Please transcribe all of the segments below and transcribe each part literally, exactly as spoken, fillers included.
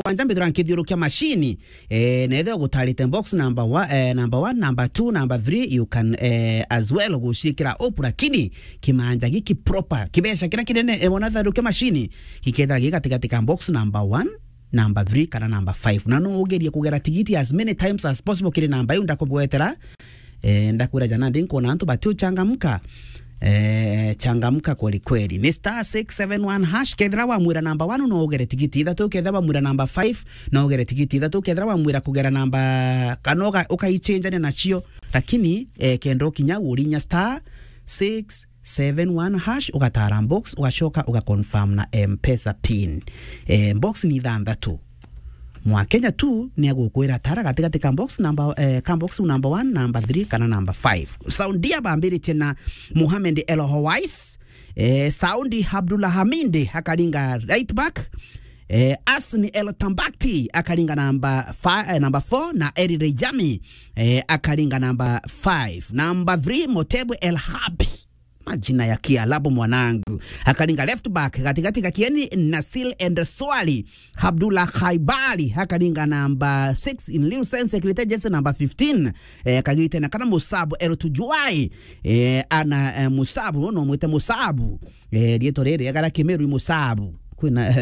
mugwanja mbithira nkithiurukia machine. Eh, na ethira gutarite box number one, eh, number one, number two, number three, you can, eh, as well guciikira up, lakini kimanja giki proper, kibeca kiria kinene, eh, wona tharukia machine, gikethira gi gatigati ka box number one, number three kana number five. Na no ugerie kugera tigiti as many times as possible kiri namba iu ndakubwetera. Eh, ndakwira jana ndi nkuona antu bati uchangamka. Eh, changamka kweli kweli. Ni star six seven one hash, kethira wamwira number one no ugere tigiti ithatu, kethira wamwira number five no ugere tigiti ithatu, kethira wamwira kugera namba kana uka-, ukaicenjania nacio. Lakini, eh, kenda ukinya urinya star six seven one hash, ugatara box, ugacoka ugaconfirm na M-Pesa pin. Eh, box ni ithanthatu. Mwakenya tu ni agukwira tara gatigati ka box number, eh, ka box number one, number three kana number five. Saudia bambiritie na Mohamed El Hawais, eh, Saudi Abdullah Hamid akaringa right back, eh, Asni El Tambakti akaringa namba fi-, eh, number four, na Eri Rejami, eh, akaringa number five. Number three, Motebu El Habi. Majina ya Kiarabu mwanangu. Akaringa left back, gatigati gakieni Nasil and Swali. Abdullah Khaibali, akaringa namba six in lieu sense, akirite jersey namba fifteen. Eh, kagite na kana Musabu El Tujuai. Eh, ana, eh, Musabu, no mwite Musabu. Eh, rietwa riri, agara Kimeru i Musabu. Kwina,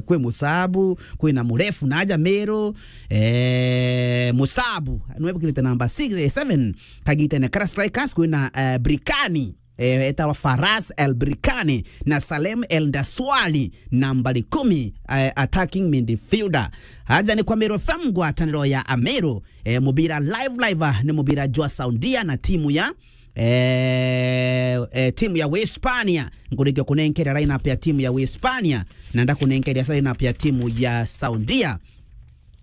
kwi Musabu, kwina Murefu na aja Meru. Eh, Musabu, nwe bukirite namba six, eh, seven. Kagitene kara strikers kwina, eh, Brikani, eh, etawa Faras El Brikani na Salem El Ndaswali, nambari kumi, eh, attacking midfielder. Aja ni kwa Meru F M, ngwataniro ya Ameru, eh, mubira live live, ah, ni mubira jwa Saudia na timu ya, eh, eh, timu ya Uhispania. Nkurikia kunenkeria lineup ya timu ya Uhispania, na ndakunenkeria sa lineup ya timu ya Saudia.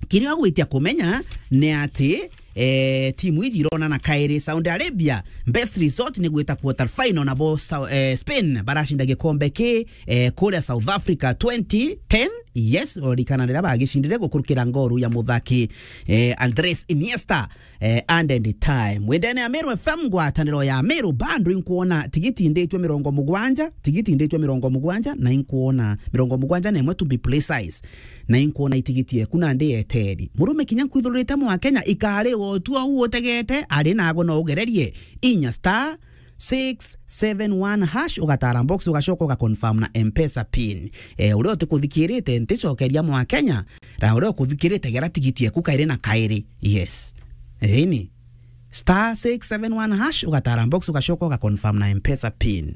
Kiria ugwitia kumenya ni ati, eh, timu iji ironana kairi. Saudi Arabia, best result ni gwita quarter final, nabo Sa-, eh, Spain baracinda gikombe ki, eh, kuria South Africa twenty ten. Yes, urikana riria bagicindire gukurukira ngoru ya muthaki, eh, Andres Iniesta, eh, and end time. Wendene ya Meru F M, ngwataniro ya Meru, bando inkuona tigiti inditwe mirongo mugwanja, tigiti inditwe mirongo mugwanja, na inkuona mirongo mugwanja na imwe to be precise. Na inkuona itigiti eku nandi eteri. Murume kinya nkwithururite mwa Kenya, ikari utua u utegete, ari nago no ugererie. Inya star six seven one hash, ugatara box, ugacoka ugaconfirm na M-Pesa pin. Eh, uria utikuthikirite, nticokeria mwa Kenya, na uria ukuthikirite, gera tigiti eku kairi na kairi. Yes. Eni. Star six seven one hash, ugatara box, ugacoka ugaconfirm na M-Pesa pin.